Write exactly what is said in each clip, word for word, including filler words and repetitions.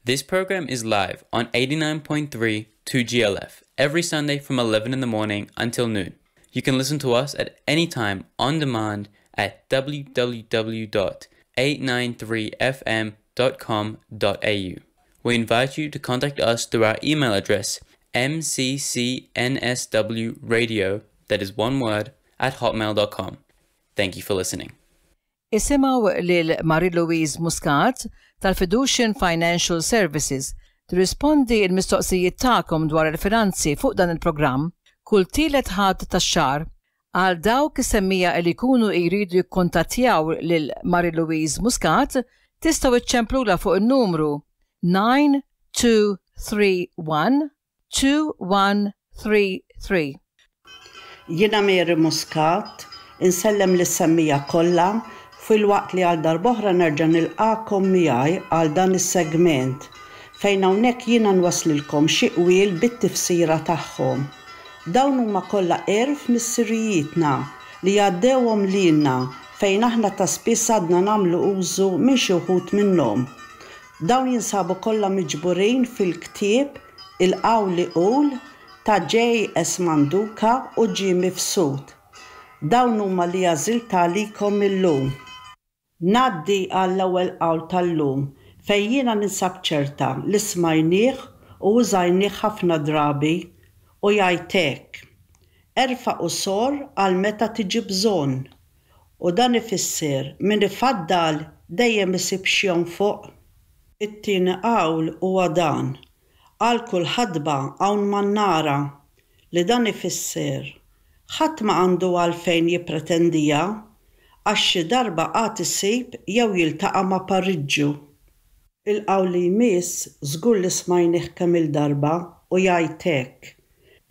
This program is live on eighty-nine point three two G L F every Sunday from eleven in the morning until noon. You can listen to us at any time on demand at w w w dot eight nine three f m dot com dot a u. We invite you to contact us through our email address, m c c n s w radio, that is one word, at hotmail dot com. Thank you for listening. Isimgħu lil Marie-Louise Muscat tal-Fiducian Financial Services tirrispondi l-mistoqsijiet tagħkom dwar il-finanzi fuq dan il-programm kull tielet ħadd tax-xahar. Għal dawk is-semmija li jkunu jridu jikkontattjaw lil Marie-Louise Muscat, tistgħu iċċemplula fuq in-numru nine two three one two one three three. Jiena Mary Muscat, insellem lis-semmija kollha fil-waqt li għal darb'oħra nerġa' nilqakom miegħi għal dan is-segment fejn hawnhekk jiena nwaslilkom xi qwiel bit-tifsira tagħhom. Dawn huma kollha għerf missirijietna li għaddewhom lilna fejn aħna ta' spiss għadna nagħmlu użu minn xi wħud minnhom. Dawn jinsabu kollha miġburin fil-ktieb Il-Qawli Qul ta' J S Manduca u G Mifsud. Dawn huma li għażilt għalikom illum. Ngħaddi għall-ewwel qawl tal-lum fejn jiena ninsab ċerta li smajnieh u użajnieh ħafna drabi u jgħid hekk: Erfa' u sor għal meta tiġi bżonn. U dan ifisser min ifaddal dejjem isib x'jonfoq. It-tieni qawl huwa dan: għal kull ħadba hawn mannara, li dan ifisser ħadd ma għandu għalfejn jippretendija għax xi darba qatt isib jew jiltaqa' ma' pariġġu. Il-qawl li jmiss żgur li smajnih kemm il-darba u jgħid hekk: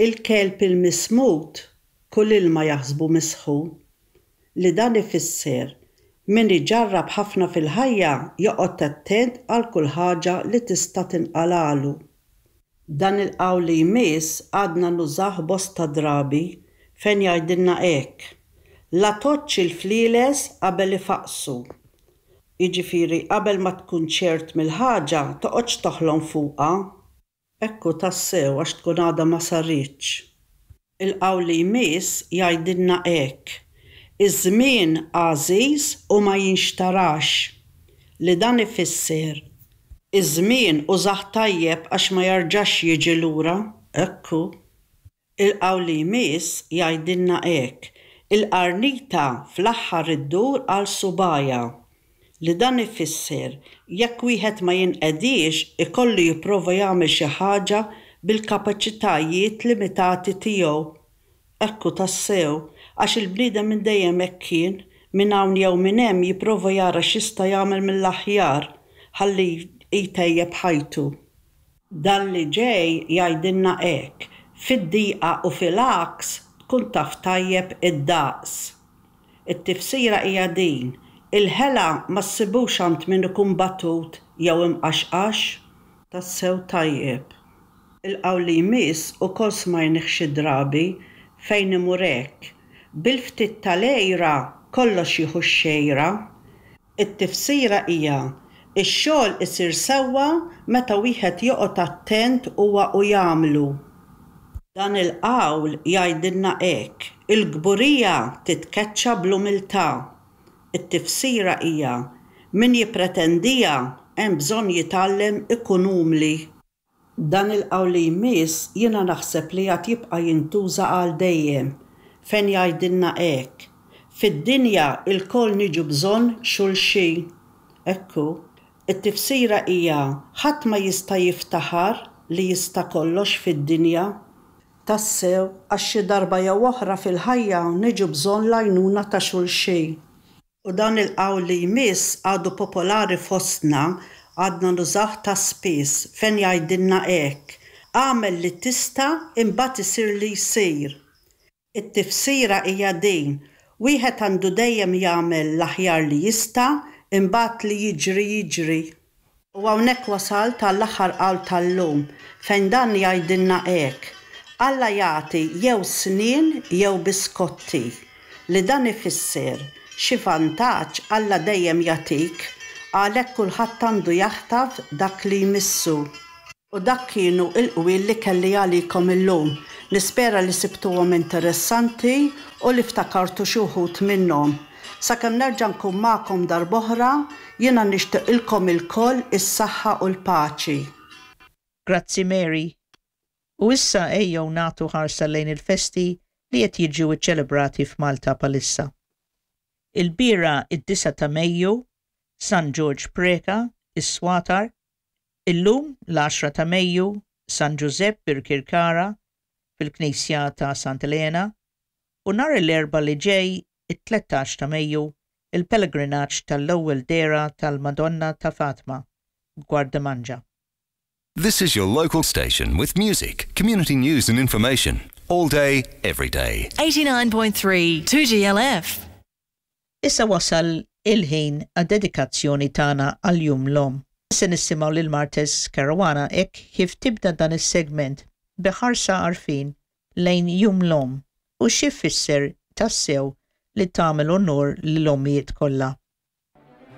il-kelb il-mismut kull ilma jaħsbu misħu, li dan ifisser min iġarrab ħafna fil-ħajja joqgħod attent għal kull ħaġa li tista' tinqalalu. Dan il-qawl li jmiss għadna nużah bosta drabi fejn jgħidilna hekk: la toċċ il-flieles qabel ifaqsu. Jiġifieri qabel ma tkun ċert mill-ħaġa toqgħodx toħlom fuqha. Ekku tassew għax tkun għadha ma saritx. Il-qawl li jmiss jgħidilna hekk: iż-żmien għażiż u ma jinxtarax, li dan ifisser iż-żmien użah tajjeb għax ma jarġax jiġi lura. Ekku. Il-qawl li jmiss jgħidilna hekk: il-qarnita fl-aħħar iddur għal subajja, li dan ifisser jekk wieħed ma jinqedix ikollu jipprova jagħmel xi ħaġa bil-kapaċitajiet limitati tiegħu. Ekku tassew, għax il-bniedem minn dejjem hekk kien, minn hawn jew minn hemm jipprova jara x'jista' jagħmel mill-aħjar ħalli jtejjeb ħajtu. Dan li ġej jgħidilna hekk: fid-diqa u fil-għaks tkun taf tajjeb id-daqs. It-tifsira hija din: il-ħela ma ssibux għand min ikun batut jew imqaxqax. Tassew tajjeb. Il-qawl li jmiss ukoll smajnih xi drabi fejn imur hekk: bil-ftit tal-għejra kollox jieħu x-xejra. It-tifsira hija ix-xogħol isir sewwa meta wieħed joqgħod attent huwa u jagħmlu. Dan il-qawl jgħidilna hekk: il-kburija titkeċċa bl-umiltà. It-tifsira hija min jippretendija hemm bżonn jitgħallem ikun umli. Dan il-qawl li jmiss jiena naħseb li għad jibqa' jintuża għal dejjem fejn jgħidilna hekk: fid-dinja lkoll niġu bżonn xulxin. Ekku, it-tifsira hija ħadd ma jista' jiftaħar li jista' kollox fid-dinja. Tassew, għax xi darba jew oħra fil-ħajja niġu bżonn l-għajnuna ta' xulxin. U dan il-qawl li jmiss għadu popolari fostna, għadna nużah ta' spiss fejn jgħidilna hekk: agħmel li tista' imbagħad isir li jsir. It-tifsira hija din: wieħed għandu dejjem jagħmel l-aħjar li jista' imbagħad li jiġri jiġri. U hawnhekk wasalt għall-aħħar qawl tal-lum fejn dan jgħidilna hekk: Alla jagħti jew snien jew biskotti, li dan ifisser xi vantaġġ Alla dejjem jagħtik Għalhekk kulħadd għandu jaħtaf dak li jmissu. U dak kienu il-qwiel li kelli għalikom illum. Nispera li sibtuhom interessanti u li ftakartu xi wħud minnhom. Sakemm nerġa' nkun magħkom darb'oħra, jiena nixtieqilkom ilkoll is-saħħa u l-paċi. Grazzi, Mary. U issa ejjew nagħtu ħarsa lejn il-festi li qed jiġu ċċelebrati f'Malta bħalissa. Ilbieraħ, id-disgħa ta' Mejju, San George Preca, is-Swatar. Illum, l-għaxra ta' Mejju, San Giuseppe Birkirkara fil-Knisja ta' Santa Elena, u nhar l-Erbgħa li ġej, it-tlettax ta' Mejju, il-pellegrinaġġ tal-ewwel dehra tal-Madonna ta' Fatima, Gwardamanġa. This is your local station with music, community news and information. All day, every day. eighty-nine point three two G L F. Issa wasal il-ħin għad-dedikazzjoni tagħna għal Jum l-Omm. Se nisimgħu lil Martes Caruana hekk kif tibda dan is-segment b'ħarsa għarfien lejn Jum l-Omm u xi jfisser tassew li tagħmel onor lil ommijiet kollha.